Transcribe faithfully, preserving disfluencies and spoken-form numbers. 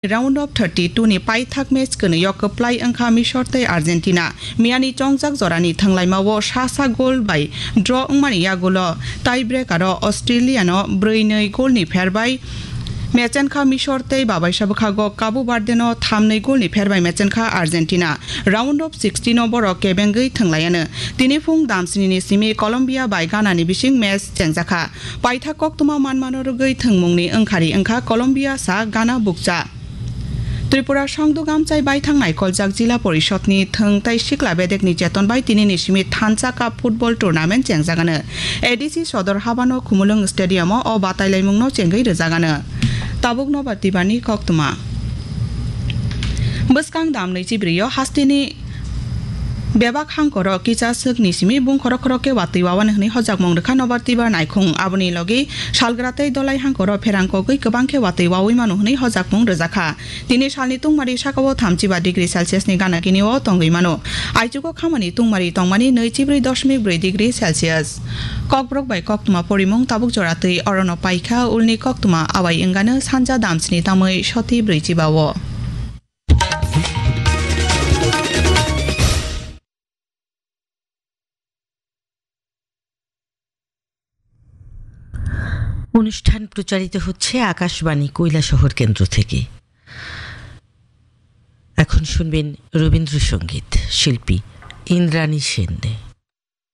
Round of thirty-two ni paithak match kwnwi o kwplai wngkha Misor tei Argentina. Miyani chongjak jorani thwnglaimao sasa goal bai draw wngmani yagulo tie breaker o Australia no brwi nwi goal ni pher bai mechenkha Misor tei babaisa bwkhago Cabo Verde no thamnwi goal ni pher bai mechenkha Argentina. Round of sixteen o borok kebengwi thwnglaiano. Tini phung damsini ni simi Colombia bai Ghana ni bising match chengjakha. Paithak koktwma manmano rwgwi thwngmungni wngkhari wngkha Colombia sa Ghana bukcha. Tripura songduk amchai baithang naikoljak Jila Porishod ni thwng tei sikla bedekni cheton bai tini ni simi Thansa Cup football tournament chengjagano. A D C sodor habano Khumulwng stadium o o batailaimungno chengwi rwjagano. Tabuk Nobar Tibar ni koktwma. Bwskang dam nwichi brio hasteni bebak hangkoro kisa swkni simi bung khorok khorok khe watwi wawan hwnwi hojakmung rwkha Nobar Tibar naikhung. Aboni logi salgra tei dolai hangkoro pherang kogwi kwbang khe watwi wawi mano hwnwi hojakmung rwjakha. Tini salni tungmari sakao thamchiba degree Celsius ni gana gini o tongwi mano. Aichugo khamani tungmari tongmani nwichibrwi dosmik brwi degree Celsius. Kokborok bai koktwma porimung tabuk jora twi orono paikha ulni koktwma awai wngano sanja damsni tamwi soti brwichiba o. অনুষ্ঠান প্রচারিত হচ্ছে আকাশবাণী কৈলাসহর কেন্দ্র থেকে। এখন শুনবেন রবীন্দ্রসঙ্গীত, শিল্পী ইন্দ্রাণী সেন।